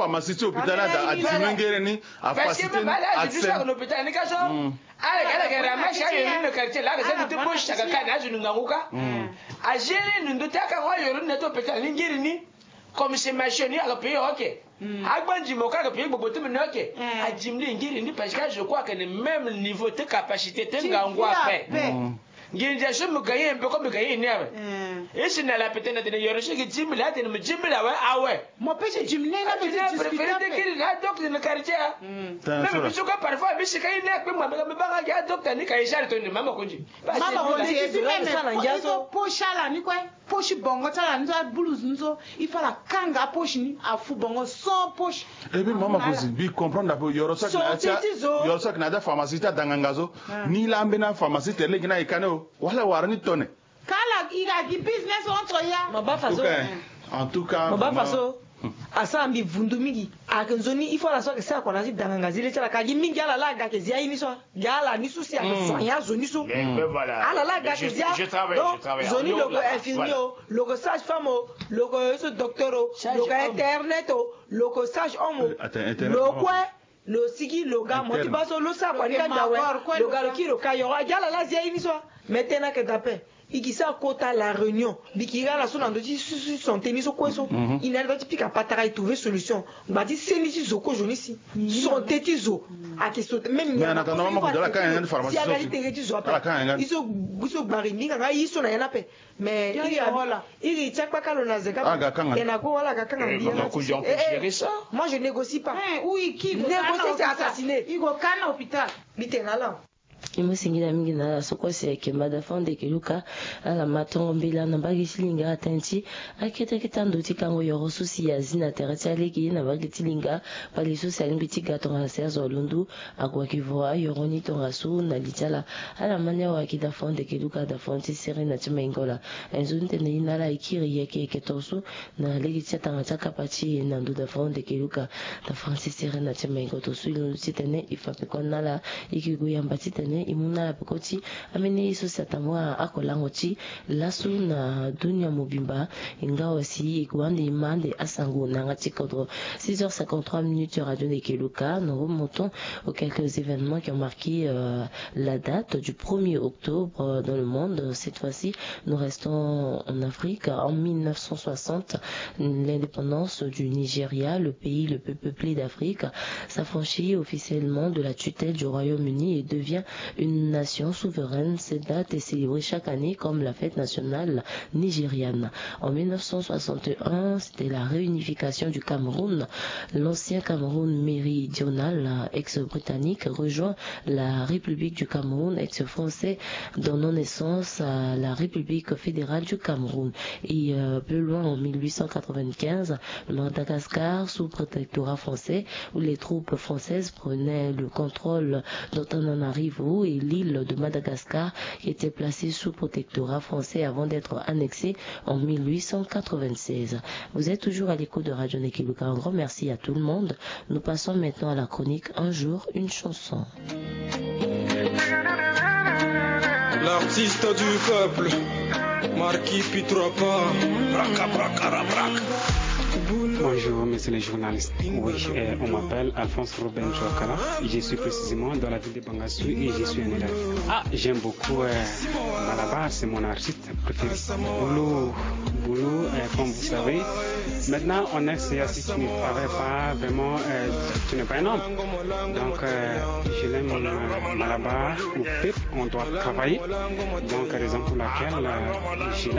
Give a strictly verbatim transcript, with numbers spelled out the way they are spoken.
Pharmacie ti hôpital ni ada, adimenge ni. Parce que même ala azo ti saka na hôpital ni ka so. Ala ala ke ramasse ayo ni na quartier la, ala za ni ti poche saka ka na azo ni ngangu ka. Agérer ni ndo ti akango ayo ni na ti hôpital ni ngiri ni. Comme c'est ma chaîne ni aga payer, ok. Agba ndimo ka aga payer gbogbo ti mene, ok. Adimle ngiri ni parce que je crois que le même niveau ti capacité ti ngangu ape. Nginza so mo gagné un peu comme mo gagné ni awe. Isi na la pete na tene yoro so gi dix mille, atene mo dix mille awe, awe. Mo pesi dix mille na mo ti discuter pe. Kiri na docteur na quartier. Même biso ko parfois bisi ka ine pe mo me banga ya docteur ni ka isari to ni mama konji. Mama konji. Isi même sala ngia so. Poche ala ni kue. Poche bongo ti ala ni so, ablouse ni so. Il faut ala kanga poche ni, afu bongo sans poche. Et puis mama kozi bi comprendre ape yoro so ayeke na ya ti pharmacie ti adanganga so. Ni laa ambeni apharmacie tere lege ni aye kani o. Wala wara ni tone. Kala i ga gi business entre ya. Ma ba faso. En tout cas, ma ba faso. Asara mbi vundu mingi. Ayeke nzoni il faut ala so ayeke sara kua na ya ti danganga zi le ti ala ka gi mingi ala laa aga ayeke zi aye ni so. Gi ala ni so si ayeke soigner azo ni so. Ala laa aga ayeke zi a. Donc zo ni lo yeke infirmier o, lo yeke sage femme o, lo yeke so docteur o, lo yeke internet o, lo yeke sage homme o. Lo kue lo sigi lo ga mo ti baa so lo sara kua ni ka nda awe. Lo ga lo kiri lo ka yoro agi ala laa zi aye ni so. Mais tena ayeke dape. I gi sara kota la réunion. Mbi yeke iri ala so na ndö ti santé ni so kue so. I na ala ti pika patara, i trouver solution. Ngba ti seni ti zo kozo ni si santé ti zo ayeke so même. Mais en attendant mama kozo ala kanga yanga ni pharmacie so si aga ti tere ti zo ape. I so gbari mbi hinga nga ye so na ya ni ape. Mais iri ti akpaka lo na zeka. Aga kanga. Tena ko wala aga kanga mbi ya. Moi je négocie pas. Négocier c'est assassiner. I go kana hôpital. Mbi tena ala. I mu singila mingi na ala so kue si ayeke mada fande yeke luka. Ala ma tongo mbela na mbage ti linga atene ti akete akete ando ti kango yoro so si azi na tere ti alege na mbage ti linga. Pali so si alingbi ti ga tongaso azo alundu. Akua ki vo ayoro ni tongaso na li ti ala. Ala ma ni awa ki da fande yeke luka da fande ti sere na ti maingo la. Aye nzoni tene ye na ala e kiri yeke yeke tongaso. Na lege ti atanga ti akapa ti e na ndo da fande yeke luka. Da fande ti sere na ti maingo tongaso e londo titene e fa peko na ala. E yeke gue yamba titene e mu na ala peko ti ambeni ye so si atambula akolango ti laso na dunia mobimba. E nga wa si e gue ande e ma ande asango na yanga ti kodro. Six heures cinquante-trois minutes, Radio Nekeluka. Nous remontons aux quelques événements qui ont marqué la date du premier octobre dans le monde. Cette fois-ci, nous restons en Afrique. En mille neuf cent soixante, l'indépendance du Nigeria, le pays le plus peuplé d'Afrique, s'affranchit officiellement de la tutelle du Royaume-Uni et devient une nation souveraine. Cette date est célébrée chaque année comme la fête nationale nigériane. En mille neuf cent soixante et un, c'était la réunification du Cameroun. L'ancien Cameroun méridional, ex-britannique, rejoint la République du Cameroun, ex-français, donnant naissance à la République fédérale du Cameroun. Et plus loin, en mille huit cent quatre-vingt-quinze, le Madagascar, sous protectorat français, où les troupes françaises prenaient le contrôle d'Antananarivo et l'île de Madagascar, qui était placée sous protectorat français avant d'être annexée en mille huit cent quatre-vingt-seize. Vous êtes toujours à l'écoute de Radio Nekeluka. Un grand merci à tout le monde. Nous passons maintenant à la chronique Un jour, une chanson. L'artiste du peuple, Marquis Pitropa. Bonjour, monsieur le journaliste. Oui, on m'appelle Alphonse Ruben Chouakala. Je suis précisément dans la ville de Bangassou et je suis un élève. Ah, j'aime beaucoup Malabar, c'est mon artiste préféré. Boulot, boulot, comme vous savez. Maintenant, on est, si tu ne travailles pas, vraiment, tu n'es pas un homme. Donc, je l'aime, Malabar, au peuple, on doit travailler. Donc, raison pour laquelle je